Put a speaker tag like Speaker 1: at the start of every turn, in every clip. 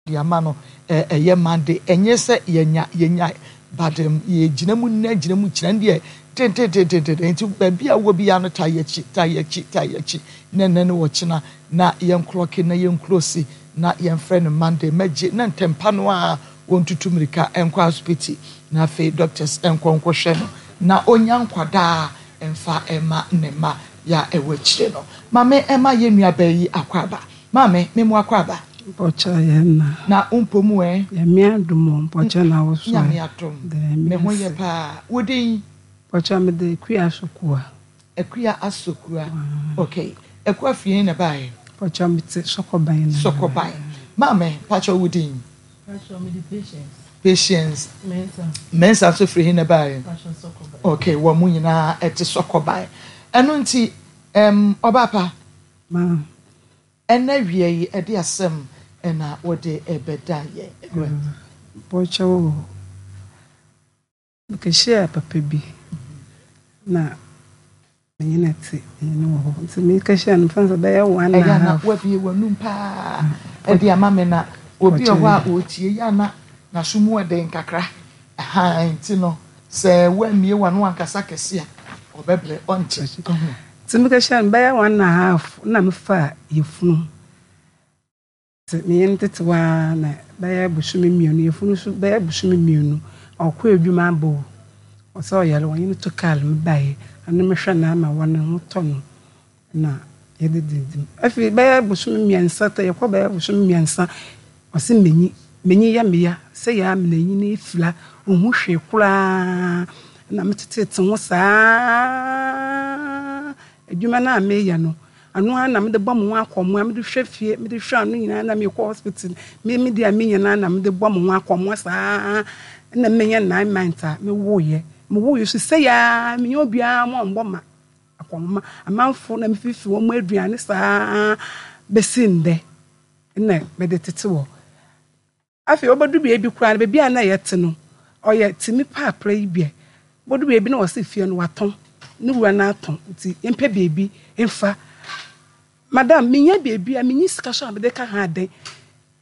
Speaker 1: De ama no ɛyɛ Monday ɛnyɛ sɛ yɛnya yɛnya but yɛgyina mu nnɛ gyina mu kyina deɛ tententententen nti baabi a wɔ biara no taa yɛkyi taa yɛkyi taa yɛkyi na ɛnɛ ne ɔkyena na yɛnklɔke na yɛnklosi na yɛmfrɛ no Monday mɛgye na ntɛmpa no a wɔntutu mmirika nkɔ asopiti na afei doctors nkɔ nkɔhwɛ no na ɔnya nkwadaa mfa ɛma ne mma yɛ a ɛwɔ akyire no maame ɛma yɛn nuabaa yi akɔ aba Maame, me mo akwaaba.
Speaker 2: Mpɔkyɛ yɛ nna.
Speaker 1: Na wo mpɔ mu ɛ?
Speaker 2: Nyame adom o, mpɔkyɛ na wo so ɛ?
Speaker 1: Nyame adom, me ho yɛ paa. Wo din?
Speaker 2: Mpɔkyɛ me de Akua Asokua.
Speaker 1: Akua Asokua, ok. Akua firi he na ɛbaeɛ?
Speaker 2: Mpɔkyɛ me te Sɔkɔban na.
Speaker 1: Sɔkɔban. Maame, mpakyɛ wo din?
Speaker 3: Mpakyɛ me de Patience.
Speaker 1: Patience.
Speaker 3: Mensah.
Speaker 1: Mensah nso firi he na ɛbaeɛ?
Speaker 3: Mpakyɛ Sɔkɔban.
Speaker 1: Ok, wɔn mo nyinaa ɛte Sɔkɔban. Ɛno nti, ɛm, ɔbaapa.
Speaker 2: Ma.
Speaker 1: Ɛna awia yi ɛde asɛm na wode rebɛda yɛn anim.
Speaker 2: Bɔkyɛw o, mekɛhyiaa papa bi na menye no tse, menye no wɔ hɔ ntsi mekɛhyiaa no mfa no sɛ bɛyɛ one and a
Speaker 1: Ɛyɛ a na
Speaker 2: half.
Speaker 1: woabue w'anum paa de ama me na obi wɔ hɔ a ɔretie yɛ a na n'aso mu yɛ den kakra. Ahaa nti no sɛ woammue w'ano ankasa kɛse a ɔbɛbrɛ ɔnte. Ahu.
Speaker 2: Ntsi mekɛhyiaa no bɛyɛ one and a half na mefaa yafunu. Ntsi menye no tsetse hɔ ara na bɛyɛ bosome mmienu, yafunu so bɛyɛ bosome mmienu, ɔkɔ edwuma aba o, ɔsɛ ɔyar wɔnye no to kaar mu bae, ɔno mehwɛ no ama hɔ no ho tɔ no na yɛdze dzidzi mu. Afei bɛyɛ bosome mmiɛnsa, yɛkɔ bɛyɛ bosome mmiɛnsa, ɔse m'enyi, m'enyi yɛ me ya, sɛ yɛ a m'enyi no efura, onnhu hwee koraa na metsetseetse ho saa, edwuma no a mereyɛ no, Ano ara na mede bɔ me ho akɔmmoa, mede hwɛ fie, mede hwɛ ano nyinaa na mekɔ hospital. Me me deɛ a menya no ara na mede bɔ me ho akɔmmoa saa na menya 9 months a mewoeɛ. Mewoeɛ so sɛi ara menya obiara ma ɔmbɔ ma akɔmmoa. Amanfo na mefifi wɔn aduane saa bɛsi ndɛ na mede tete wɔ. Afei obodu beebi koraa no, beebi a nna yɛtse no, ɔyɛ tsemi paapra yi bi ɛ. Obodu beebi na wɔse fie no wɔatɔn, no wura no atɔn ntsi yɛmpɛ beebi mfa. Madam, minnya beebi a, minnyi sika so a medze ka ho adan.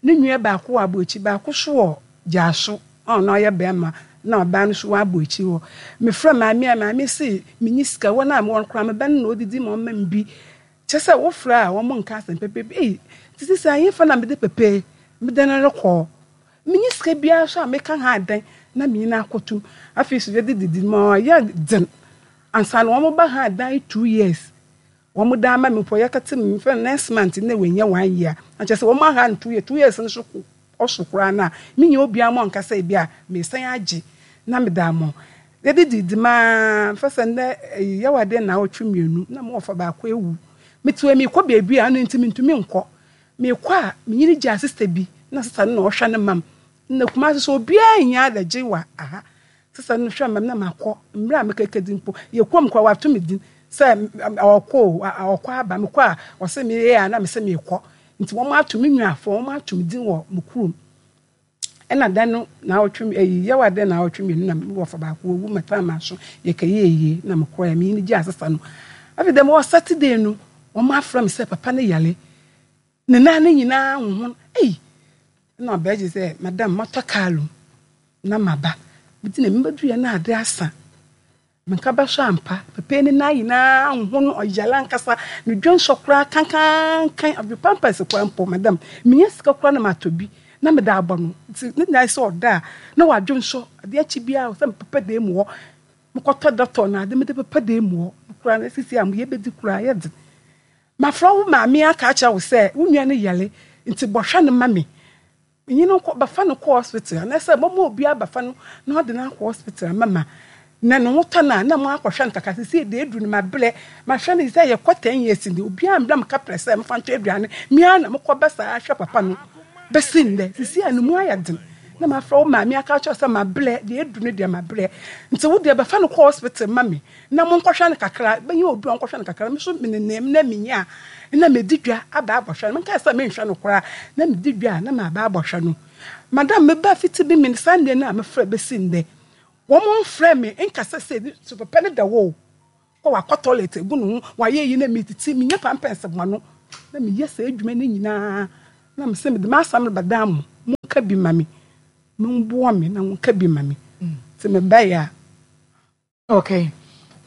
Speaker 2: No nua baako wɔ Aboakyi, baako so wɔ Gyaso a ɔno ɔyɛ bɛrima na ɔbaa no so wɔ Aboakyi hɔ. Mefrɛ maame a, maame se minnyi sika, hɔn a mowɔ no koraa me ba no na odzidzi ma ɔma me bi. Kyerɛ sɛ wofrɛ a wɔn nka asɛm pɛpɛ bi. Ei, nti sisi ahefa na mede pɛpɛ mede no rekɔ? Menni sika biara so a meka ha adan na menye no akɔtom. Afei so yɛde didi ma ɔyɛ dzen ansa na wɔn ba ha adan 2 years. Wɔn dan ama me mpo yɛkɛte me mfɛ next month na wɔanya one year. Na kyerɛ sɛ wɔn aha no 2 years, 2 years no so ɔso koraa no a mennya obiara ma ɔnka sɛ ebi a mesan agye na mede ama. Yɛde didi maa mfa sɛ nnɛ ɛyi yɛwɔ adeɛ nnawɔtwe mmienu na mo wɔfa baako awu. Mete hɔ yi mekɔ baabi a ɛno nti mentumi nkɔ. Mekɔ a menyini gyaa sista bi na sista no na ɔhwɛ no mam. Na Kumasi so obiara nnya adagye wɔ aha. Sista no hwɛ mam na makɔ. Mmerɛ a mekɛkɛdi mpo yɛ kurom koraa wato me din sɛ ɔkɔ o ɔkɔ aba. Mekɔ a ɔse meyɛ a na mese mekɔ. Nti wɔn ato me nuafoɔ wɔn ato me din wɔ me kurom. Ɛna da no naawɔtwe ɛyi yawa dɛ naawɔtwe mmienu na me wɔfa baako owu mɛtaa m'aso yɛkɛyɛ ayie na mekɔɛ me yini gye asesa no. Afei dɛm wɔ Saturday no wɔn afrɛ me sɛ papa no yare ne nan no nyinaa honhon ei ɛna ɔbɛgye sɛ madam matɔ kaa mu na maba meti na mebɛduiɛ na ade asa. Menka bɛhwɛ ampa, papa ne nan nyinaa ho no ɔyare ankasa, ne dwonsɔ koraa kankankan, ɔde pampers koraa mpo, madam, menya sika koraa na matɔ bi na mede abɔ no, nti ne nyinaa sɛ ɔda a na wadwonsɔ, adeɛ akyi biara sɛ mepepa dan mu hɔ, mekɔtɔ dɔtɔ na ade mede pepa dan mu hɔ, koraa na sisi a yɛbɛdi koraa yɛ den. Mafrɛ wo maame aka akyerɛ wo sɛ wo nua no yare, nti bɔhwɛ no ma me. Menye no nkɔ, bɛfa no kɔ hospital anaasɛ mɔma obi abɛfa no na ɔde no akɔ hospital ama ma na ne ho tɔ no a na moakɔhwɛ no kakra. Sesei deɛ aduru no mabrɛ, mahwɛ no sɛ yɛkɔ 10 years ni, obiara mbrɛ me kaprɛ sɛ memfa ntɔ aduane, me ara na mekɔ ba saa hwɛ papa no bɛsi nnɛ. Sesei a ne mu ayɛ den na mafrɛ wo maame aka akyerɛ wo sɛ mabrɛ, deɛ aduru no deɛ mabrɛ, nti wo deɛ bɛfa no kɔ hospital ma me na monkɔhwɛ no kakra, bɛnya obi a ɔnkɔhwɛ no kakra. Me nso menenam na menya a, na medi dwa aba abɔhwɛ no. Menkae sɛ menhwɛ no koraa, na medi dwa a na maba abɔhwɛ no. Madam, meba fiti bi me Sunday no a mefrɛ bɛsi nnɛ, wɔn mfrɛ me nkasa sɛ so papa no da hɔ o, kɔ wakɔ toilet agu ne ho, wayɛ yi na metiti, menya pampers ma no, na meyɛ saa adwuma no nyinaa, na mesɛ mede m'asɛm rebɛdan mo. wɔnka bi ma me. Momboa me na wɔnka bi ma me. Nti mebaeɛ a.
Speaker 1: Okay.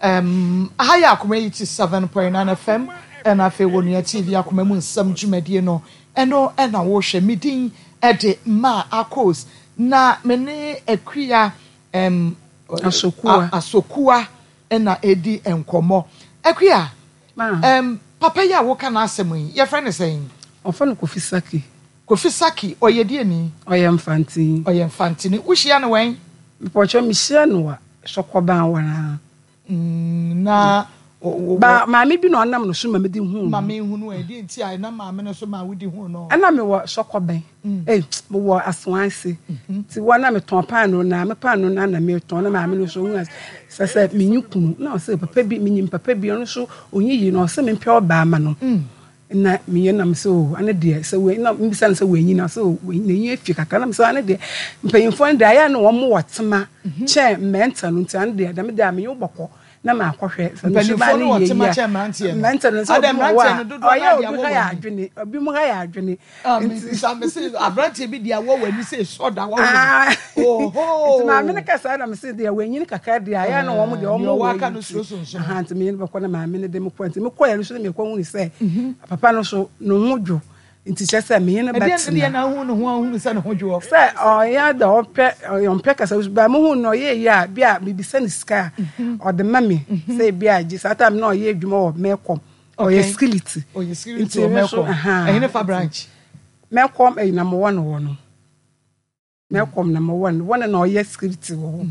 Speaker 1: Um, aha yɛ Akoma 87.9 FM, ɛna afei wɔ Nua TV Akoma mu nsɛm dwumadie no, ɛno ɛna wohwɛ. Me din ɛde Ma Akos, na me ne Akua um,
Speaker 2: Asokua.
Speaker 1: Asokua ɛna ɛdi nkɔmmɔ. Akua, um, papa yi a woka n'asɛm yi, yɛfrɛ no sɛn?
Speaker 2: Wɔfrɛ no Kofi Saki.
Speaker 1: Kofi Saki, ɔyɛ deɛni?
Speaker 2: Ɔyɛ Mfantini.
Speaker 1: Ɔyɛ Mfantini. Wohyia no wɛn?
Speaker 2: Mepɔkyɛ mehyia no wɔ Sɔkɔban hɔ ara.
Speaker 1: Na wɔ.
Speaker 2: Ba maame bi na ɔnam no so ma mede huu no.
Speaker 1: Ma menhunu ɛ, deɛ nti a ɛnam maame no so ma wode huu no?
Speaker 2: Ɛna mewɔ Sɔkɔban, ei, mewɔ Asoanse. Nti wɔ na metɔn paanoo no ara, me paanoo no ara na metɔn, na maame no nso ɔhuu sɛ sɛ menni kunu. Na ɔse papa bi, menyim papa bi, ɔno nso ɔnyi yie, na ɔse mempɛ ɔbaa ma no. Nna meyɛ na mese oh ane deɛ sɛ wei na mebisa no sɛ wanyin a ɔse oh n'enyi afi kakra na mese ane deɛ mpanyinfoɔ no deɛ ayɛ a na wɔn wɔ tema kyɛn mmeranteɛ no nti ane deɛ dɛm deɛ a menye wo bɔkɔ na makɔhwɛ sɛ ne suban
Speaker 1: no
Speaker 2: yɛ
Speaker 1: yie
Speaker 2: a mmeranteɛ no sɛ obi wɔ hɔ a ɔyɛ obi ha yɛ adwene obi mu ha yɛ adwene
Speaker 1: nti mese aberanteɛ bi deɛ awɔ w'ani sɛ esɔ da wɔ
Speaker 2: oho nti maame no kasa na mese deɛ wanyin kakra deɛ ayɛ na wɔn deɛ wɔn wɔ
Speaker 1: aka no suro sonson
Speaker 2: aha nti menye no bɛkɔ na maame no de me kɔ nti mekɔ yɛ no so na mekɔ hu sɛ papa no so ne ho dwo nti kyerɛ sɛ menye no bɛtena
Speaker 1: ɛdeɛ na ahu ne ho ahunu sɛ ne ho dwoɔ
Speaker 2: sɛ ɔyɛ da ɔpɛ ɔmpɛ kasa ba mo hu no ɔyɛ yie a bi a mebisa ne sika a ɔde ma me sɛ bi a gye saa time na ɔyɛ adwuma wɔ mɛkɔm ɔyɛ skiliti
Speaker 1: ɔyɛ skiliti wɔ mɛkɔm ɛhene fa branch
Speaker 2: mɛkɔm ɛyi na mowɔ no wɔ no Mɛkɔm na mowɔ no wɔn na ɔyɛ security wɔ hɔ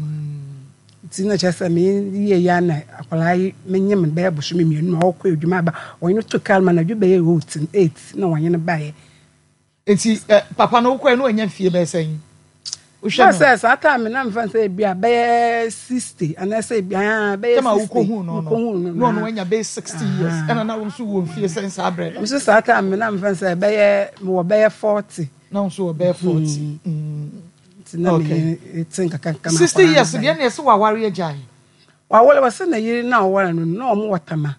Speaker 2: nti na kyerɛ sɛ meyɛ yɛ na akwadaa yi menyem no bɛyɛ bosome mmienu na ɔkɔ adwuma aba wɔn no to kar ma na adwo bɛyɛ 8 na wɔn no baeɛ.
Speaker 1: Nti papa no wokɔɛ no wanya mfie bɛyɛ sɛn?
Speaker 2: Wohwɛ no. Sɛ saa time na mfa sɛ ebi a bɛyɛ 60 anaasɛ ebi a bɛyɛ 60.
Speaker 1: Tɛma wokɔhu no no na ɔno wanya bɛyɛ 60 years ɛna na wo nso wɔ mfie sɛn saa berɛ no?
Speaker 2: Nso saa time na mfa sɛ bɛyɛ mewɔ bɛyɛ 40.
Speaker 1: Na wo nso wɔ bɛyɛ 40.
Speaker 2: Nti na me te nkakanka ma
Speaker 1: 60 years deɛ na ɛsɛ waware agyae.
Speaker 2: Waware wɔsɛ na yere na ɔware no na wɔn wɔ tama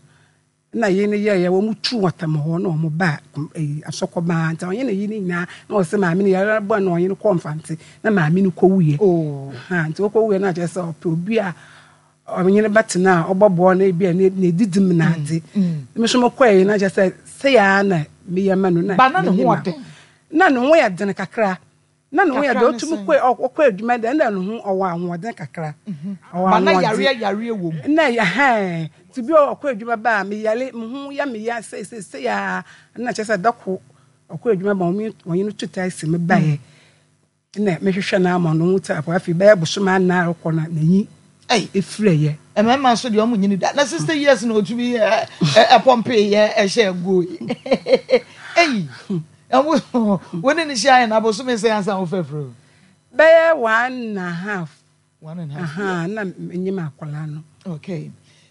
Speaker 2: na yere no yɛyɛ wɔn tu wɔ tama hɔ na wɔn ba ɛyi asɔkɔbaa nti ɔnye ne yere nyinaa na ɔsɛ maame no yare bɔ na ɔnye no kɔ mfante na maame no kɔ wuyɛ.
Speaker 1: Oh.
Speaker 2: Ha nti wɔkɔ wuyɛ na kyerɛ sɛ ɔpɛ obi a ɔnye no bɛtena a ɔbɔboa no ebi a ne didi mu na adze. Me nso mokɔɛ na kyerɛ sɛ sɛ yɛ na meyɛ ma no na
Speaker 1: ba na ne ho ɔden.
Speaker 2: Na ne ho yɛ den kakra. Na ne ho yɛ den otumi kɔ ɔkɔ adwuma dɛ na ne ho ɔwɔ ahoɔden kakra.
Speaker 1: Ɔwɔ ahoɔden. Ba na yareɛ yareɛ wɔ mu.
Speaker 2: Na ɛhɛn nti bi ɔkɔ adwuma ba a meyare me ho yɛ me ya sei sei sei a na kyerɛ sɛ dako ɔkɔ adwuma ba wɔn no tu taxi me baeɛ. Nna mehwehwɛ no ama no ho tse apɔw. Afei bɛyɛ bosoom anan rokɔ no n'enyi efuraeɛ.
Speaker 1: Mmarima nso deɛ wɔn nyini da na 60 years na otumi ɛpɔmpe yɛ ɛhyɛ goal yi eyi ɛwo wo ne ne hyia yɛ na abosome sɛ ansa wo fɛfrɛ o.
Speaker 2: Bɛyɛ one and a half.
Speaker 1: One and a half.
Speaker 2: Aha na menye ma akwadaa no.
Speaker 1: Okay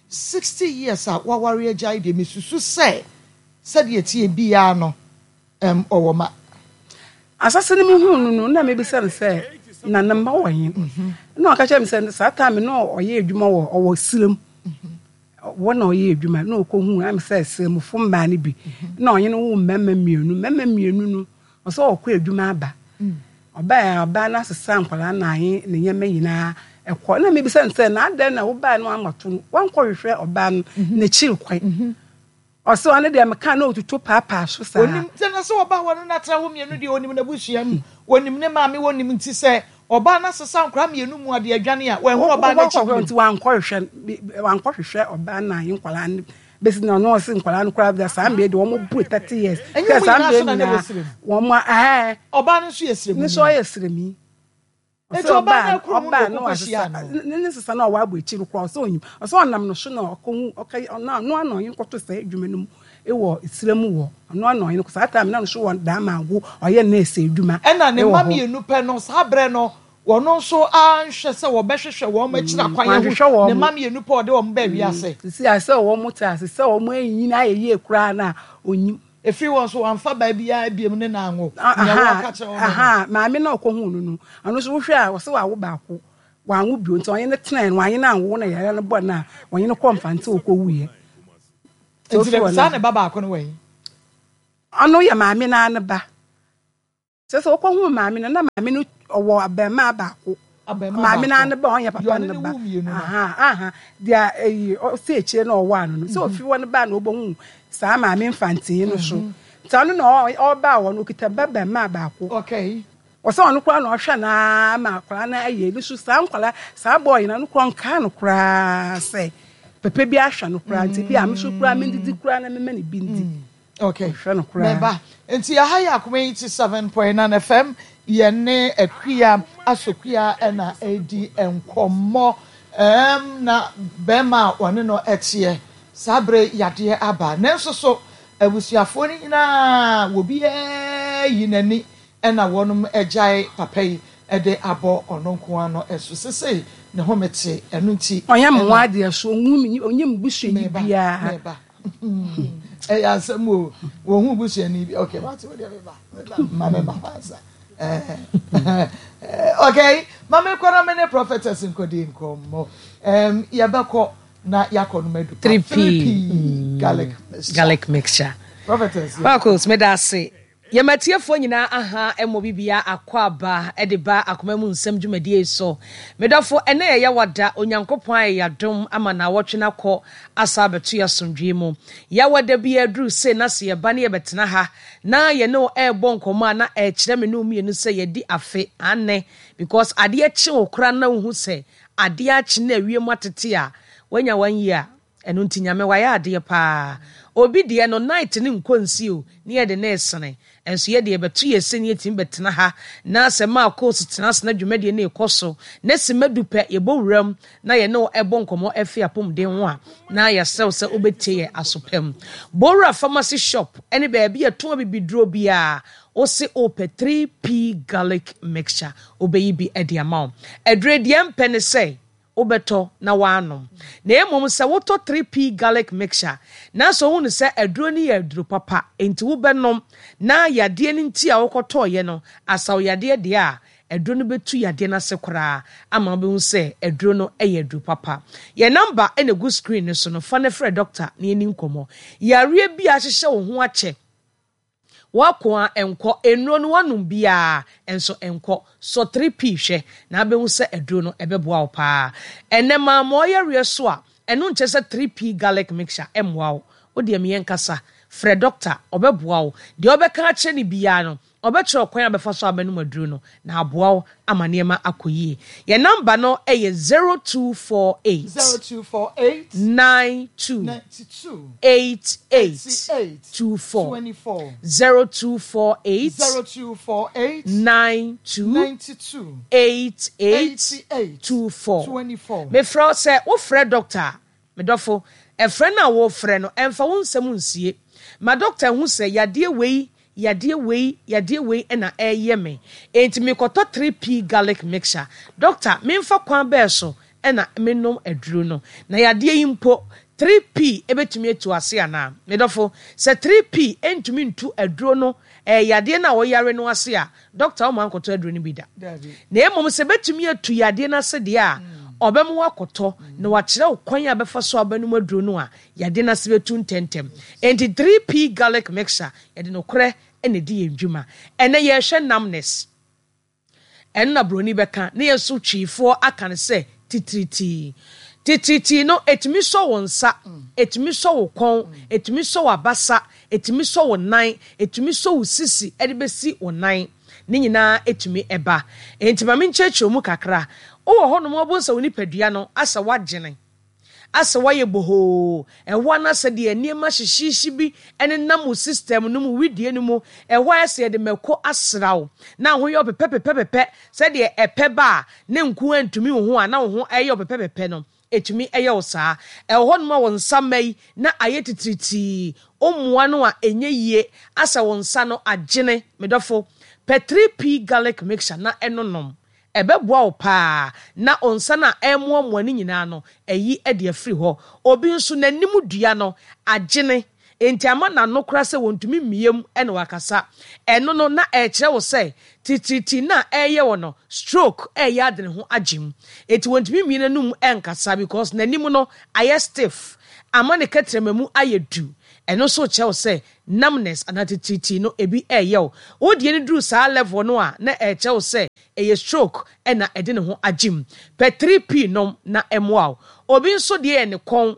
Speaker 1: 60 years a waware agyae deɛ mesusu sɛ sɛdeɛ tie biara no. Ɛm, ɔwɔ ma.
Speaker 2: Asase no mehuu no no, na mebisa no sɛ, na ne mma wɔ he? Na ɔka kyerɛ me sɛ saa time no ɔyɛ adwuma wɔ ɔwɔ serem. Wɔ na ɔyɛ adwuma na ɔkɔhuu am sɛ seremfo mmaa no bi. Na ɔnye no woo mmarima mmienu. Mmarima mmienu no, ɔsɛ ɔkɔ adwuma aba. Ɔbaeɛ a ɔbaa no asesa nkwadaa no ahe ne nneɛma nyinaa ɛkɔ. Na mebisa no sɛ, na adɛn na wobaeɛ no woammɔto no, woankɔhwehwɛ ɔbaa no n'akyiri kwan? Ɔse ɔno deɛ meka na ɔtutu paapaa so saa.
Speaker 1: Onim sɛ na sɛ ɔbaa wɔne no atra hɔ mmienu deɛ onim n'abusua mu, onim ne maame onim nti sɛ ɔbaa no asesa nkwadaa mmienu mu adeɛ adwane a wanhu ɔbaa no akyi bio.
Speaker 2: Nti wankɔhwehwɛ wankɔhwehwɛ ɔbaa no ahe nkwadaa no bɛsi na ɔno ɔse nkwadaa no koraa deɛ saa mmerɛ deɛ wɔn buru 30 years.
Speaker 1: Ɛnyɛ wɔn nyinaa so na na ɛwɔ srem.
Speaker 2: Wɔn ɛɛ.
Speaker 1: Ɔbaa no nso yɛ sremuni.
Speaker 2: Ne nso ɔyɛ sremni.
Speaker 1: Enti ɔbaa no akuru mu na ɔkɔ kɔhyiaa no.
Speaker 2: Ne ne sesa na ɔwɔ abɔ akyiri no koraa ɔsɛ onyim. Ɔsɛ ɔnam no so na ɔkɔhu ɔka ɔno ano ano ɔnye no kɔto saa adwuma no mu wɔ esira mu wɔ ɔno ano ɔnye no saa time na no so wɔ Damango ɔyɛ nurse adwuma.
Speaker 1: Ɛna ne mma mmienu pɛ no saa berɛ no ɔno nso anhwɛ sɛ wɔbɛhwehwɛ wɔn akyiri akwan ahu ne mma mmienu pɛ ɔde wɔn baa wiase.
Speaker 2: Sisi a sɛ wɔn te ase sɛ wɔn anyini ayɛ yie koraa no a onyim.
Speaker 1: Ɛfiri hɔ nso wamfa baa biara biom ne no anwo. Nea wɔka kyerɛ wo no no.
Speaker 2: Maame no a ɔkɔhuu no no, ɔno nso wohwɛ a ɔse wawo baako, wanwo bio nti ɔnye no tenae no, wanye no anwo na yare no bɔɔ no a ɔnye no kɔɔ Mfantse ɔkɔwuiɛ.
Speaker 1: Nti saa ne ba baako no wɔ he?
Speaker 2: Ɔno yɛ maame no ara ne ba. Kyerɛ sɛ ɔkɔhuu maame no, na maame no ɔwɔ abarimaa baako. Maame no ara ne ba, ɔnyɛ papa no ba. Aha, aha. Deɛ eyi ɔsi akyire na ɔwɔ ano no. Sɛ ofi hɔ no baa na ɔbɛhu saa maame mfantee no so. Nti ɔno na ɔbaa hɔ no, ɔkita ba barimaa baako.
Speaker 1: Okay.
Speaker 2: Ɔsɛ ɔno koraa na ɔhwɛ no ara ma akwadaa no ayɛ ne so. Saa nkwadaa, saa bɔɔl yi no, ɔno koraa ɔnkaa no koraa sɛ papa bi ahwɛ no koraa. Nti bi a me so koraa mendidi koraa na mema no bi ndi.
Speaker 1: Okay.
Speaker 2: Ɔhwɛ no koraa.
Speaker 1: Meba. Nti aha yɛ Akoma 87.9 FM. Yɛne Akua Asokua na ɛredi nkɔmmɔ. Ɛɛm na bɛrima a ɔne no teɛ saa bere yadeɛ aba. Nanso so abusuafoɔ no nyinaa obiara yi n'ani na wɔnom agyae papa yi de abɔ ɔno nko ara no so. Sesei ne home te, ɛno nti
Speaker 2: Ɔnyɛ me ho
Speaker 1: na.
Speaker 2: adeɛ so, ɔnhu me, ɔnyɛ me busuani
Speaker 1: Meba,
Speaker 2: biara.
Speaker 1: meba. Ɛyɛ asɛm o. Wɔn ho busuani bi. Okay, wate wo deɛ meba. Meba, ma me ba ansa. Okay, ma me kɔ na me ne prophetess nkɔdi nkɔmmɔ. Um, yɛbɛkɔ na yɛakɔ no madu pa.
Speaker 4: 3P
Speaker 1: 3P garlic mixture.
Speaker 4: Garlic mixture.
Speaker 1: Prophetess. Yeah.
Speaker 4: Marcos, meda ase. Yɛn atiefoɔ nyinaa aha mmɔ bibia akwaaba de ba akoma mu nsɛm dwumadie yi so. Me dɔfo, ɛnnɛ yɛ Yawada, Onyankopɔn ayɛ yɛn adom ama naawɔtwe no akɔ asa abɛto yɛn asomdwoeɛ mu. Yawada biara duru sei na sɛ yɛba ne yɛbɛtena ha na yɛne wo ɛrebɔ nkɔmmɔ a na ɛrekyerɛ me ne wo mmienu sɛ yɛadi afe, aane, because adeɛ kye wo koraa na wohu sɛ adeɛ akye na awiem atete a, woanya one year. Ɛno nti Nyame wayɛ adeɛ paa. Obi deɛ no night no nkɔ nsi o ne yɛde no resene. Nso yɛdeɛ yɛbɛto yɛn se ne yɛtumi bɛtena ha na sɛ maa course tena ase na dwumadie no rekɔ so na simma du pɛ yɛbɔ wuram na yɛne wo ɛbɔ nkɔmmɔ ɛfe apɔmuden ho a na yɛsrɛ wo sɛ wobɛtie yɛn aso pa mu. Bowura pharmacy shop ɛne baabi a yɛtɔn abibiduro biara wose wopɛ 3P garlic mixture wobɛyi bi de ama wo. Aduro yi deɛ mpɛ ne sɛ wobɛtɔ na woanom. Na mmom sɛ wotɔ 3P garlic mixture na sɛ wohu no sɛ aduro no yɛ aduro papa nti wobɛnom na yadeɛ no nti a wokɔtɔeɛ no asa wo yadeɛ deɛ a, aduro no bɛtu yadeɛ no ase koraa ama wobɛhu sɛ aduro no yɛ aduro papa. Yɛn number na ɛgu screen no so no, fa no frɛ dɔkta na yɛnni nkɔmmɔ. Yareɛ bi a ahyehyɛ wo ho akyɛ W'ako a ɛnkɔ, nnuro no w'anom biaa nso ɛnkɔ, sɔ 3P hwɛ na abɛhu sɛ aduro no ɛbɛboa wo paa. Ɛnɛ mamoa yareɛ so a, ɛno nkyerɛ sɛ 3P garlic mixture ɛmmoa wo. Wo deɛ me yɛnkasa, frɛ doctor, ɔbɛboa wo. Deɛ wobɛka akyerɛ no biaa no, ɔbɛkyerɛ wo kwan a wobɛfa so a wobɛnom aduro no na aboa wo ama nneɛma akɔ yie. Yɛn number no yɛ 0248.
Speaker 1: 0248.
Speaker 4: 92.
Speaker 1: 92.
Speaker 4: 88.
Speaker 1: 88.
Speaker 4: 24.
Speaker 1: 24.
Speaker 4: 0248.
Speaker 1: 0248.
Speaker 4: 92.
Speaker 1: 92.
Speaker 4: 88.
Speaker 1: 88.
Speaker 4: 24.
Speaker 1: 24.
Speaker 4: Mefrɛ wo sɛ wofrɛ doctor a, Me dɔfo, frɛ no a worefrɛ no, mfa wo nsɛm nsie. Ma dɔkta nhu sɛ yadeɛ wei, yadeɛ wei, yadeɛ wei na ɛreyɛ me, enti merekɔtɔ 3P garlic mixture. Dɔkta, memfa kwan bɛn so na mennom aduro no? Na yadeɛ yi mpo, 3P bɛtumi atu ase anaa? Me dɔfo, sɛ 3P ntumi ntu aduro no, ɛɛ, yadeɛ no a woyare no ase a, Dɔkta ɔmma nkɔtɔ aduro no bi da. Na mmom sɛ ɛbɛtumi atu yadeɛ no ase deɛ a, ɔbɛma woakɔtɔ na wakyerɛ wo kwan a bɛfa so a wobɛnom aduro no a, yadeɛ no ase bɛtu ntɛmntɛm. Enti 3P Garlic Mixture, yɛde nokorɛ na ɛdi yɛn dwuma. Ɛnnɛ yɛrehwɛ numbness. Ɛno na buroni bɛka, na yɛn nso Twiifoɔ aka no sɛ titiritii. Titiritii no, ɛtumi sɔ wo nsa, ɛtumi sɔ wo kɔn, ɛtumi sɔ w'abasa, ɛtumi sɔ wo nan, ɛtumi sɔ wo sisi de bɛsi wo nan. Ne nyinaa ɛtumi ba. Enti ma menkyerɛkyerɛ mu kakra. Wowɔ hɔnom a wobɛhu sɛ wo nipadua no asɛ woagyene. Asɛ woayɛ bohoo, ɛhɔ ara na sɛdeɛ nneɛma hyehyeehye bi nenam wo system no mu, wedeɛ no mu, ɛhɔ ayɛ sɛ yɛde mako asra wo, na ho yɛ wo pɛpɛpɛpɛpɛ, sɛdeɛ ɛpɛ ba a ne nko ara ntumi wo ho a na wo ho ɛyɛ wo pɛpɛpɛpɛ no, ɛtumi yɛ wo saa. Ɛwɔ hɔnom a wo nsa mma yi na ayɛ titiritii, wo mmoa no a ɛnyɛ yie, asɛ wo nsa no agyene, me dɔfo, pɛ 3P garlic mixture na ɛnonom. Ɛbɛboa wo paa na wo nsa no a ɛremoamoa no nyinaa no, ayi de afiri hɔ. Obi nso, n'anim dua no agyene, enti ama n'ano koraa sɛ wɔntumi mmue mu na wakasa. Ɛno no, na ɛrekyerɛ wo sɛ titiritii no a ɛreyɛ wo no, stroke reyɛ ade ne ho agye mu. Enti wɔntumi mmue n'anum nkasa because n'anim no ayɛ stiff, ama ne kɛtrɛma mu ayɛ du. Ɛno nso kyerɛ wo sɛ numbness anaa titiritii no ebi reyɛ wo. Wo deɛ no duru saa level no a, na ɛrekyerɛ wo sɛ ɛyɛ stroke na ɛde ne ho agye mu. Pɛ 3P nom na ɛmmoa wo. Obi nso deɛ yɛ ne kɔn.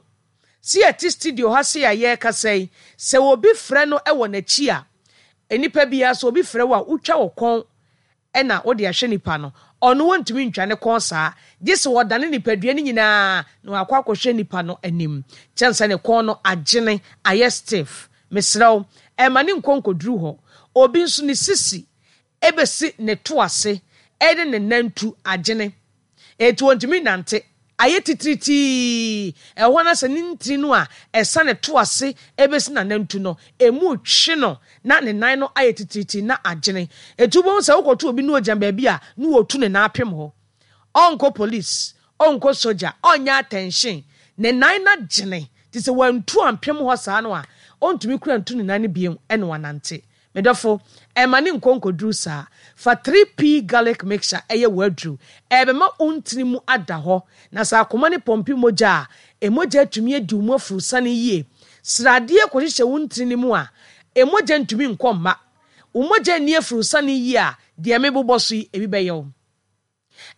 Speaker 4: Se yɛte studio ha sei a yɛrekasa yi, sɛ obi frɛ no wɔ n'akyi a, nnipa biara sɛ obi frɛ wo a, wotwa wo kɔn na wode ahwɛ nipa no, ɔno ontumi ntwa ne kɔn saa, gye sɛ ɔdane nipadua no nyinaa na wakɔ akɔhwɛ nipa no anim. Kyɛn sɛ ne kɔn no agyene, ayɛ stiff. Mesrɛ wo, mma ne nkɔ nkɔduru hɔ. Obi nso ne sisi bɛsi ne to ase ne ne nantu agyene. Enti ontumi nnante. Ayɛ titiritii. Ɛhɔ no sɛ ne ntini no a ɛsane to ase besi n'anantu no, emu retwe no na ne nan no ayɛ titiritii na agyene. Enti wobɛhu sɛ wokɔto obi na ogyina baabi a na wɔretu ne nan apem hɔ. Ɔnkɔ police, ɔnkɔ sogya, ɔnyɛ atɛnhyen. Ne nan no agyene. Nti sɛ wantu ampem hɔ saa no a, ɔntumi kura ntu ne nan no bio na wanante. Me dɔfo, ɛmma ne nkɔ nkɔduru saa. Fa 3P Garlic Mixture yɛ w'aduru. Ɛbɛma wo ntini mu ada hɔ, na sɛ akoma no pɔmpe mogya a, mogya atumi adi wo mu aforosiane yie. Sradeɛ kɔhyehyɛ wo ntini no mu a, mogya ntumi nkɔ mma. Wo mogya nni aforosiane yie a, deɛ mebobɔ so yi, ebi bɛyɛ wo.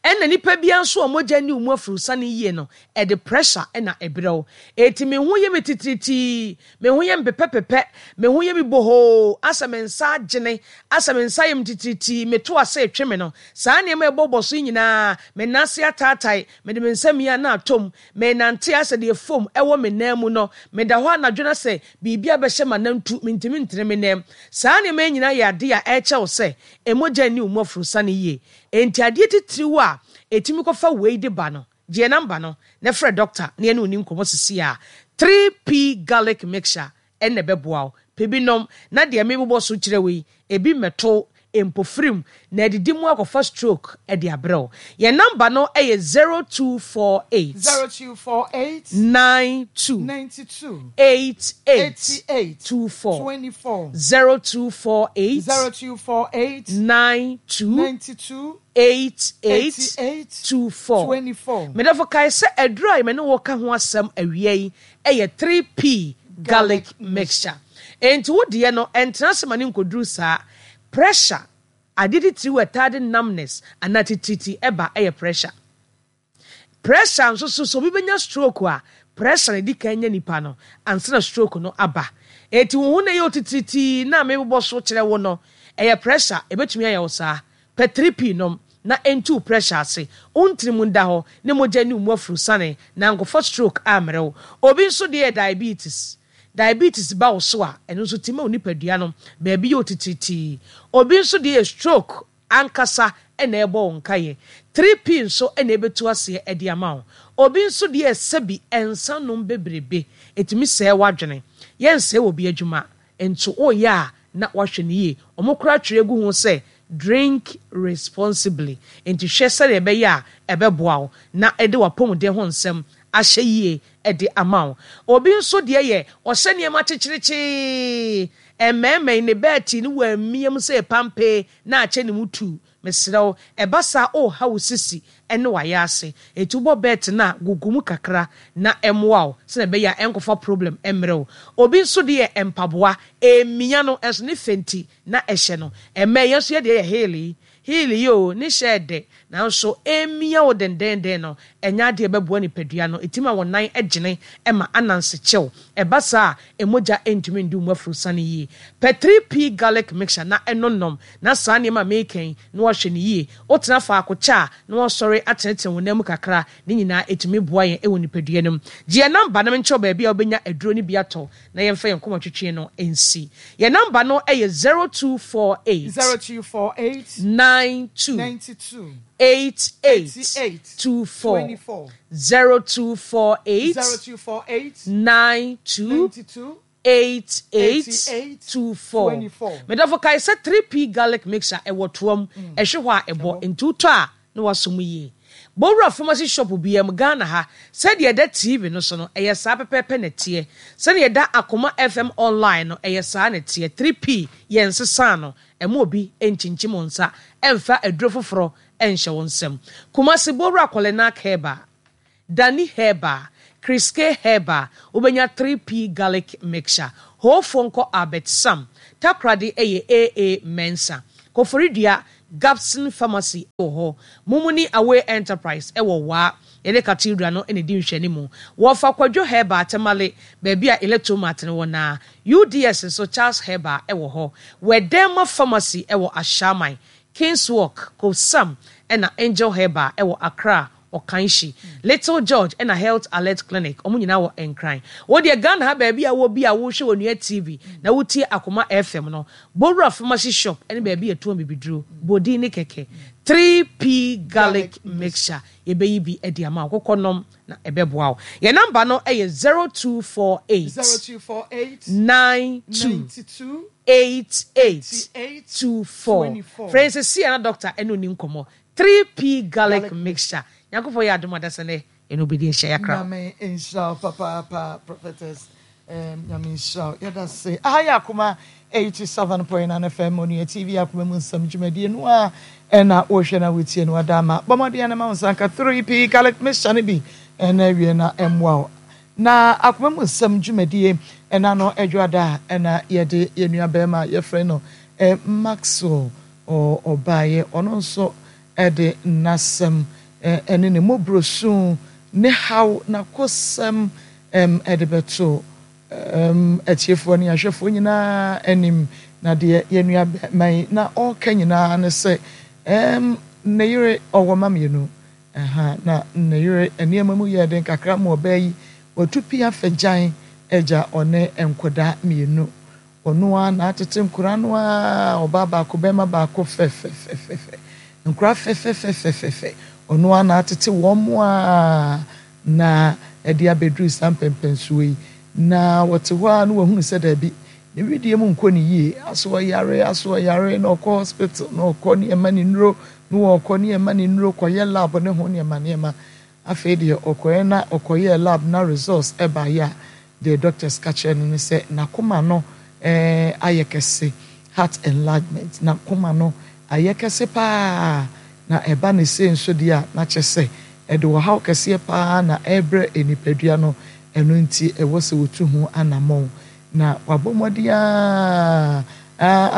Speaker 4: Ɛna nipa biara nso a mogya nni wo mu afurusane yie no, ɛde pressure na ɛbrɛ wo. Enti me ho yɛ me titiritii, me ho yɛ me pepɛpepɛ, me ho yɛ me bohoo, asɛ me nsa agyene, asɛ me nsa yɛ me titiritii, me to ase retwe me no. Saa nneɛma a ɛbɔbɔ so yi nyinaa, me nan ase ataatae, mede me nsa mia na atɔ mu, menante asɛ deɛ foam wɔ me nan mu no, meda hɔ anadwo na sɛ biribi abɛhyɛ m'anantu, mentumi ntene me nan mu. Saa nneɛma yi nyinaa yɛ adeɛ a ɛrekyɛ wo sɛ mogya nni wo mu afurusane yie. Enti adeɛ titiriw a ɛtumi kɔfa wei de ba no, gye yɛn namba no na frɛ dɔkta na yɛne wo nni nkɔmmɔ seesei ara. 3P Garlic Mixture na ɛbɛboa wo. Pɛ bi nom na deɛ merebobɔ so kyerɛ wo yi, ebi mmɛto wo mpofirim na adidi mu akɔfa stroke de abrɛ wo. Yɛn namba no yɛ 0248.
Speaker 1: 0248.
Speaker 4: 92.
Speaker 1: 92.
Speaker 4: 88.
Speaker 1: 88.
Speaker 4: 24.
Speaker 1: 24.
Speaker 4: 0248.
Speaker 1: 0248.
Speaker 4: 92.
Speaker 1: 92.
Speaker 4: 88.
Speaker 1: 88.
Speaker 4: 24.
Speaker 1: 24.
Speaker 4: Me dɔfo kae sɛ aduru a me ne wo ka ho asɛm awia yi yɛ 3P garlic mixture. Enti wo deɛ no, ɛntena ase ma no nkɔduru saa. Pressure, adeɛ titiriw a ɛtaa de numbness anaa titiritii ba yɛ pressure. Pressure nso so, sɛ obi bɛnya stroke a, pressure na ɛdi kan nya nipa no ansa na stroke no aba. Enti wo ho na ɛyɛ otitiritii na mebobɔ so kyerɛ wo no, ɛyɛ pressure, ɛbɛtumi ayɛ wo saa. Pɛ 3P nom na ɛntu wo pressure ase, wo ntini mu nda hɔ, ne mogya nni wo mu afurusane na ankɔfa stroke ammrɛ wo. Obi nso deɛ yɛ diabetes. Diabetes ba wo so a, ɛno nso tumi ma wo nipadua no baabi yɛ otitiritii. Obi nso deɛ yɛ stroke ankasa na ɛrebɔ wo nkaeɛ. 3P nso na ɛbɛtu aseɛ de ama wo. Obi nso deɛ sɛbi nsa nom bebrebe, ɛtumi sɛe w'adwene. Yɛnsɛe obi adwuma, nso woyɛ a na woahwɛ no yie. Wɔn koraa twerɛ gu ho sɛ drink responsibly. Nti hwɛ sɛdeɛ ɛbɛyɛ a ɛbɛboa wo na ɛde w'apɔmuden ho nsɛm ahyɛ yie de ama wo. Obi nso deɛ yɛ ɔhyɛ nneɛma kyekyerekyee, ɛmmɛɛmmɛn, ne bɛɛte no wammia mu sɛ pampee na akyɛ ne mu tuu. Mesrɛ wo, ɛba saa a woreha wo sisi ne w'ayaase. Enti wobɔ bɛɛte no a, gugu mu kakra na ɛmmoa wo sɛdeɛ ɛbɛyɛ a ɛnkɔfa problem mmrɛ wo. Obi nso deɛ yɛ mpaboa, ɛmmia no nso ne fɛ nti na ɛhyɛ no. Ɛmmɛn, yɛn nso yɛn deɛ yɛ heel yi, Heel yi oo, ne hyɛ yɛ dɛ, nanso ɛremia wo dendeenden no, ɛnyɛ adeɛ a ɛbɛboa nipadua no. Ɛtumi ma wo nan gyene ma ananse kyew. Ɛba saa a, mogya ntumi ndu wo mu afurusane yie. Pɛ 3P Garlic Mixture na nom, na saa nneɛma a mereka yi, na woahwɛ no yie. Wotena faako kyɛ a, na woasɔre atenetene wo nan mu kakra. Ne nyinaa ɛtumi boa yɛn wɔ nipadua no mu. Gye yɛn namba na menkyerɛ wo baabi a wobɛnya aduro no bi atɔ. na yɛmfa yɛn nkɔmmɔtwetwe no nsi. Yɛn namba no yɛ 0248.
Speaker 1: 0248.
Speaker 4: 92.
Speaker 1: 92.
Speaker 4: 88.
Speaker 1: 88.
Speaker 4: 24.
Speaker 1: 24.
Speaker 4: 0248.
Speaker 1: 0248.
Speaker 4: 92.
Speaker 1: 92.
Speaker 4: 88.
Speaker 1: 88.
Speaker 4: 24.
Speaker 1: 24.
Speaker 4: Medɔfo kae sɛ 3P garlic mixture ɛwɔ toa mu, ɛhwe hɔ a ɛbɔ, nti wotɔ a na wasɔ mu yie. Bɔ wura pharmacy shop biara mu Ghana ha, sɛdeɛ ɛda TV no so no, ɛyɛ saa pɛpɛɛpɛ na ɛteɛ. Sɛdeɛ ɛda Akoma FM online no, ɛyɛ saa na ɛteɛ. 3P, yɛnsesaa no. Ɛmma obi nkyinkyim wo nsa ɛmfa aduro foforɔ nhyɛ wo nsam. Kumasi, bɔ wura Kɔlenak Herbal, Dani Herbal, Chris K Herbal, wobɛnya 3P Garlic Mixture. Hoofoɔ nkɔ Albert Sam. Takoradi yɛ AA Mensah. Koforidua, Gabson Pharmacy wɔ hɔ. Mumuni Away Enterprise wɔ Waa. Yɛne Cathedral no na ɛdi nhwɛanimu. Wɔfa Kwadwo Herbal, Tamale, baabi a Electromart no wɔ no ara. UDS nso, Charles Herbal wɔ hɔ. Wɛdɛma Pharmacy wɔ Ashaiman. Kings Walk, Kobsam ɛna Angel Herbal wɔ Accra, Okaishie. Little George ɛna Health Alert Clinic, wɔn nyinaa wɔ Nkran. Wo deɛ Ghana ha baabi a wowɔ bi a wohwɛ Onua TV na wotie Akoma FM no, Bowura Pharmacy Shop ne baabi a yɛtɔn bibiduro, bɔ din ne kɛkɛ, 3P Garlic Mixture, yɛbɛyi bi de ama wo. Kokɔ nom na ɛbɛboa wo. Yɛn namba no yɛ 0248
Speaker 1: 0248
Speaker 4: 92
Speaker 1: 92
Speaker 4: 88
Speaker 1: 88
Speaker 4: 24.
Speaker 1: 24.
Speaker 4: Frɛ yɛn seesei a na dɔkta ne wo nni nkɔmmɔ. 3P Garlic
Speaker 1: Garlic
Speaker 4: Mixture. Nyankopɔn yɛ adom a dasani nnɛ yɛne wo bɛdi ahyia. Yɛakra wo.
Speaker 1: Nyame nhyira wo papaapa prophetess Ehm Nyame nhyira wo yɛda se. Aha yɛ Akoma 87.9 FM Onua TV Akoma mu nsɛm dwumadie no a ɛna wohwɛ na wotie no ada ama. Bɔ mmɔden na ma wo nsa nka 3P garlic mixture no bi ɛna awie na ɛmmoa wo. Na Akoma mu nsɛm dwumadie ɛna no adwoada a ɛna yɛde yɛn nua bɛrima yɛfrɛ no eh, Maxwell ɔbaeɛ ɔno nso de n'asɛm ne ne mmɔborɔsu, ne haw, n'akosɛm de bɛto atiefoɔ ne ahwɛfoɔ nyinaa anim. Na deɛ yɛn nua bɛrima yi na ɔreka nyinaa ne sɛ, ne yere ɔwɔ mma mmienu, na ne yere nneɛma mu yɛɛ den kakra ma ɔbaa yi, watu pia fagyan agya ɔne nkwadaa mmienu. Ɔno ara na atete nkwadaa no ara, ɔbaa baako, barima baako fɛfɛfɛfɛ. Nkwadaa fɛfɛfɛfɛfɛ. Ɔno ara na atete wɔn ara na ɛde abɛduru saa mpɛnpɛnsoɔ yi. Na wɔte hɔ ara na wɔahunu sɛ daabi, ne wedeɛ mu nkɔ ne yie. Aso ɔyare, aso ɔyare, na ɔkɔ hospital, na ɔkɔ ne ɛma ne nnuro, na ɔkɔ ne ɛma ne nnuro kɔyɛ lab ne ho nneɛma nneɛma. Afei deɛ ɔkɔeɛ na ɔkɔyɛɛ lab na results baeɛ a, deɛ doctors ka kyerɛɛ no ne sɛ n'akoma no ayɛ kɛse, heart enlargement, n'akoma no ayɛ kɛse pa ara, na ɛba no sei nso deɛ a na kyerɛ sɛ ɛde ɔhaw kɛseɛ pa ara na ɛrebrɛ nipadua no, ɛno nti ɛwɔ sɛ wɔtu ho anammɔn. Na wabɔ mmɔden ara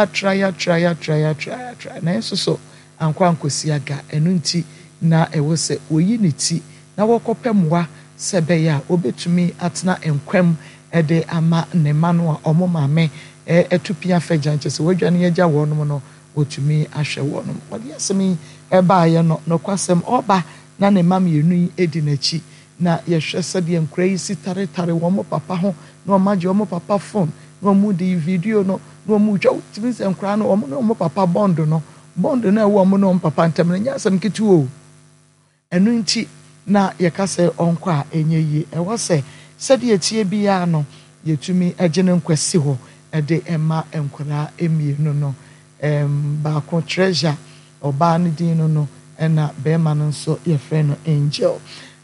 Speaker 1: atrae atrae atrae atrae atrae nanso so ankɔ ankɔsi aga. Ɛno nti, na ɛwɔ sɛ wɔyi ne ti na wɔkɔpɛ mmoa sɛ ɛbɛyɛ a ɔbɛtumi atena nkwa mu de ama ne mma no a wɔn maame atu pia fa gya, kyerɛ sɛ wɔadwane agya wɔn no, wɔtumi ahwɛ wɔn. Wɔde asɛm yi baeɛ no, nokwasɛm, ɔreba na ne mma mmienu yi di n'akyi. Na yɛhwɛ sɛdeɛ nkwadaa yi si taretare wɔn papa ho, na wɔagye wɔn papa phone, na wɔde video no, na wɔretwa. Wotumi sɛ nkwadaa no, wɔn ne wɔn papa bond no, bond no a ɛwɔ wɔn ne wɔn papa ntam no, ɛnyɛ asɛm ketewa o. Ɛno nti na yɛka sɛ ɔnkɔ a ɛnyɛ yie. Ɛwɔ sɛ sɛdeɛ ɛteɛ biara no, yɛtumi gye ne nkwa si hɔ de ma nkwadaa mmienu no. Ɛɛm, baako Treasure, ɔbaa no din no no, ɛna barima no nso yɛfrɛ no Angel.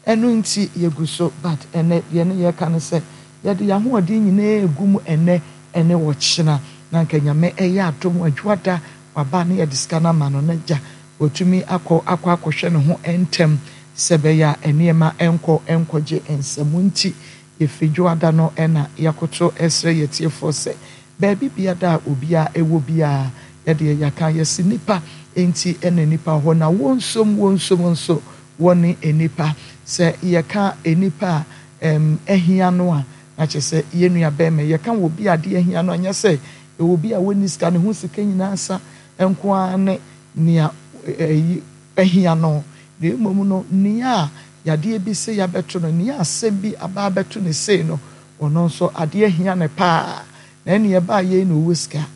Speaker 1: Ɛno nti yɛgu so, but ɛnnɛ deɛ ne yɛreka ne sɛ, yɛde yɛn ahoɔden nyinaa regu mu ɛnnɛ ɛne ɔkyena, na anka Nyame ɛyɛ adom Adwoada waba na yɛde sika no ama no na agya watumi akɔ akɔ akɔhwɛ ne ho ntɛm sɛ ɛbɛyɛ a nneɛma nkɔ nkɔgye nsam nti yɛfiri Dwoada no na yɛakoto srɛ yɛn atiefoɔ sɛ baabi biada a obiara wɔ biara yɛdeɛ yɛaka yɛse nnipa nti na nnipa wɔ hɔ na wɔnsom wɔnsom nso wɔne nnipa sɛ yɛka nnipa a ahia no a na kyerɛ sɛ yɛn nua bɛrima yɛka wɔ bi a adeɛ ahia no anyɛ sɛ ɛwɔ bi a wɔnni sika ne ho sika nyinaa sa nko ara ne nea ɛyi ahia no na mmom no nea yadeɛ bi sei abɛto no nea asɛm bi aba abɛto no sei no ɔno nso adeɛ ahia no paa na ɛneɛ ɛbaa yei na ɔwɔ sika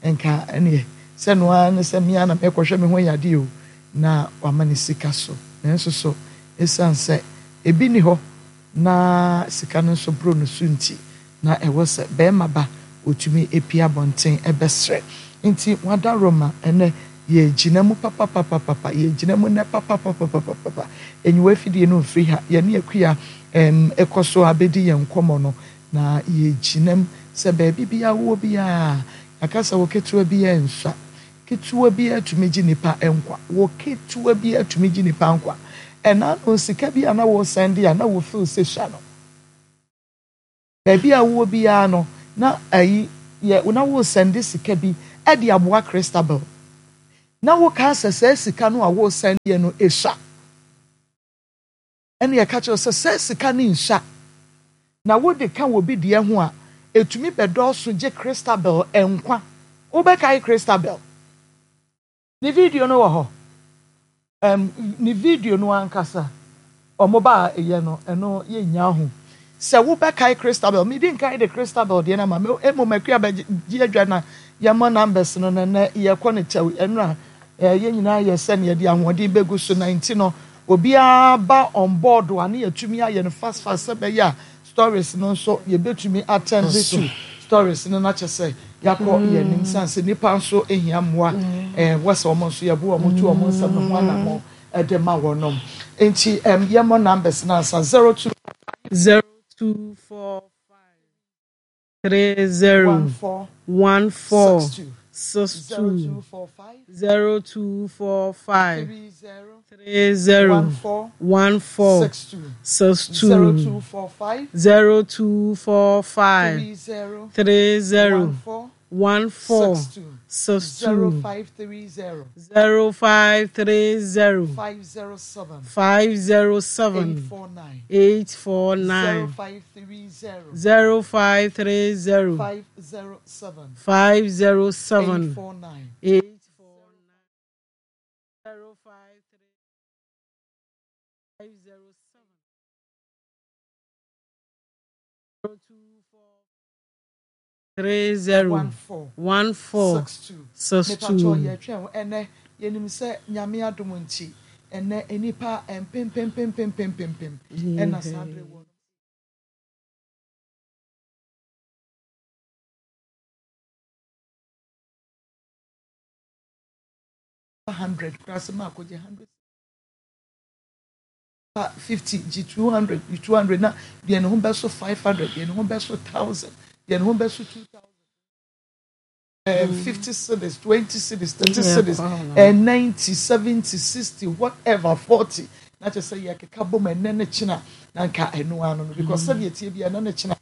Speaker 1: nka ɛneɛ sɛ no ara ne sɛ me ara na mekɔhwɛ me ho yadeɛ o na wama ne sika so nanso so ɛsiane sɛ ebi nni hɔ na sika no nso boro no so nti, na ɛwɔ sɛ barima ba ɔtumi pue abɔnten bɛsrɛ. Nti wadaworoma ɛnnɛ yɛgyina mu papapapapa, yɛgyina mu nnɛ papapapapapa. Aniwa afidie no mfiri ha, yɛne Akua ɛm kɔ so ara bɛdi yɛn nkɔmmɔ no, na yɛgyina mu sɛ baabi biara wowɔ biara, yɛaka sɛ wo ketewa biara nsua. Ketewa biara tumi gye nipa nkwa. Wɔ ketewa biara tumi gye nipa nkwa. Ɛna ano sika bi a na wo sɛnde a na wo feel sɛ sua no. Baabi a wowɔ biara no, na ayi yɛ na woresɛnde sika bi de aboa Christabel. Na wokaa sɛ saa sika no a woresɛndeɛ no esua. Ɛna yɛka kyerɛ wo sɛ saa sika no nsua. Na wode ka obi deɛ ho a, ɛtumi bɛdɔɔso gye Christabel nkwa. Wobɛkae Christabel? Ne video no wɔ hɔ. Ɛm, ne video no ankasa, wɔn ba a yɛ no, ɛno yɛnnya ho. Sɛ wobɛkae Christabel, medi nkan de Christabel deɛ no ama, me, mmom Akua bɛgye adwa na yɛmmɔ numbers no, na nnɛ yɛkɔ no kyɛw, ɛno a, eh, yɛn nyinaa yɛ sɛnea yɛde ahoɔden bɛgu so, na nti no, obiara ba on board a, ne yɛatumi ayɛ no fast fast sɛ ɛbɛyɛ a Stories no nso yɛbɛtumi attend to stories no na kyɛ sɛ yɛakɔ yɛn anim sane sɛ nnipa nso hia mmoa wɔ sɛ wɔn nso yɛbo wɔn tu wɔn nsɛm no ho anammɔn de ma wɔnom nti yɛmmɔ numbers no ansa 02
Speaker 2: 0245 30 14 62 0245 30 14 62 0245 30 14 62 0530 507 849 0530 507 849 053 507 024 30 14 62.
Speaker 1: Mepakyɛw yɛtwɛn wo ɛnɛ yɛnim sɛ Nyame adom nti ɛnɛ nnipa mpempempempempempem ɛna saa bere wɔ 100 koraa sɛ maakɔgye 100 50 gye 200 gye 200 na deɛ ne ho bɛso 500 deɛ ne ho bɛso 1000 deɛ ne ho bɛso 2000 50 cedis 20 cedis 30 cedis 90 70 60 whatever 40 na kyerɛ sɛ yɛkeka bom ɛnɛ ne kyena na nka ɛno ano no because sɛdeɛ tie bi ɛnɛ ne kyena.